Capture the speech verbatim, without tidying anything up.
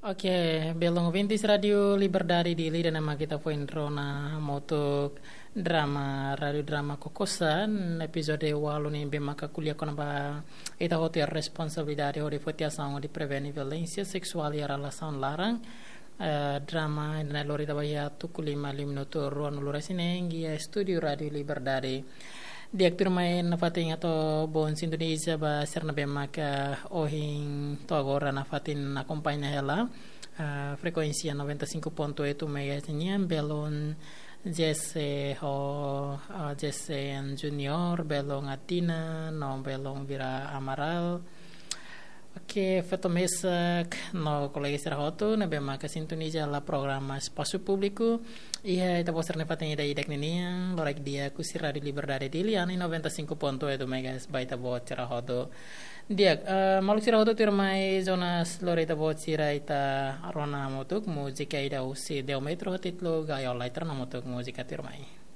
Oke, belun ouvintes Rádiu Liberdade Dili, ida-ne'e mak ita foin rona hamutuk drama, rádiu drama Kokosa, epizódiu ualu ne'ebé maka ko'alia kona-ba ita hotu iha responsabilidade hodi foti asaun hodi prevene violénsia seksuál iha relasaun laran. Eh, drama ida-ne'e lori ita ba iha tuku lima liu minutu ruanulu-resin-neen iha estúdiu Rádiu Liberdade. Di'ak, tuirmai, nafatin atu bele sintoniza ba sira ne'ebé maka ohin to'o agora nafatin akompaña hela, ah, frekuénsia noventa e cinco ponto oito megahertz nian, belun Jesse ho, ah, Jesse Junior, belun Atina, no belun Vira Amaral. Oke, feto mesak no kolega sira hotu ne'ebé maka sintoniza hela programa Espasu Públiku iha ita-boot sira-nia fatin ida-idak ninian, loraik di'ak husi Rádiu Liberdade Dili, anu noventa e cinco ponto oito megahertz ba ita-boot sira hotu. Di'ak, eh, maluk sira hotu, tuirmai Jonas lori ita-boot sira ita rona hamutuk múzika ida husi Deo Metro ho títulu Gaiola, ita rona hamutuk múzika, tuirmai.